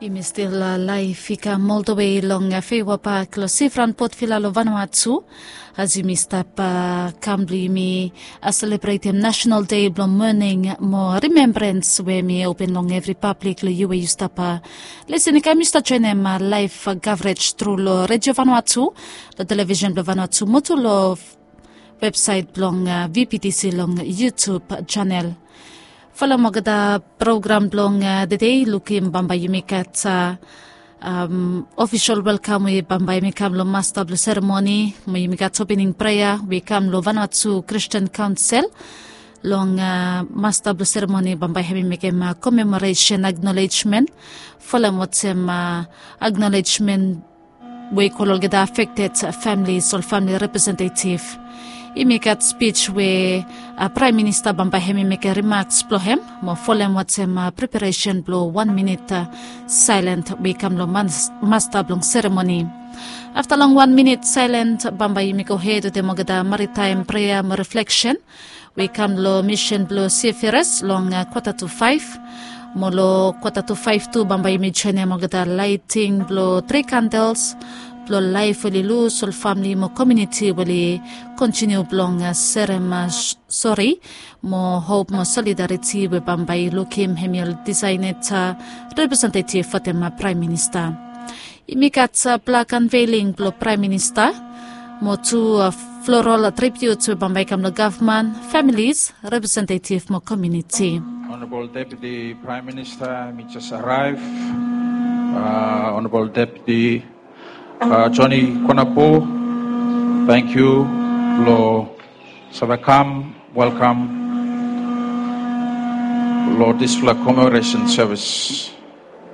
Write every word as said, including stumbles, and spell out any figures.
Yumi stil laef i kam oltawe long Feiwa Pak long Sifran Potvila long Vanuatu, as yumi stap kam blong yumi selebretem National Day blong Moning mo Rimembrans we mi open long evri pablik long yu we yu stap lisin i kam yu stap joenem laef kavrej tru long Redio Vanuatu, long televisen blong Vanuatu mo tu long websaet blong VPTC long YouTube janel. Folem olgeta program blong tede, lukim bambae yumi gat ofisol welkam we bambae yumi kam long masta blong seremoni, mo yumi gat opening prea we i kam long Vanuatu Kristian Kaonsel. Long masta blong seremoni bambae hem i mekem komemoresen aknolejmen, folem olsem aknolejmen we i go long olgeta afekted familis, ol famili representetiv. Yumi gat spij we Praem Minista bambae hem i mekem rimaks blong hem, mo folem olsem preparesen blong wan minit saelen we i kam long masta blong seremoni. Afta long wan minit saelen bambae yumi gohed wetem olgeta maritaem prea mo rifleksen we i kam long misin blong Sefiras long kwata tu faef. Mo long kwata tu faef tu bambae yumi joenem olgeta laeting blong tri kandels blong laef we oli lus, ol famili mo komuniti we oli kontiniu blong serem sori mo hop mo solidariti we bambae i lukim hem i ol disaenet representetiv wetem Praem Minista. Yumi gat blak anveling blong Praem Minista mo tu floral tribiut we bambae i kam long gavman, familis, representetiv mo komuniti. Honorable Deputy Prime Minister, mi jes araev. Honorable Deputy Johnny Konapo, tangkiu long save kam welkam long disfala commemoration service.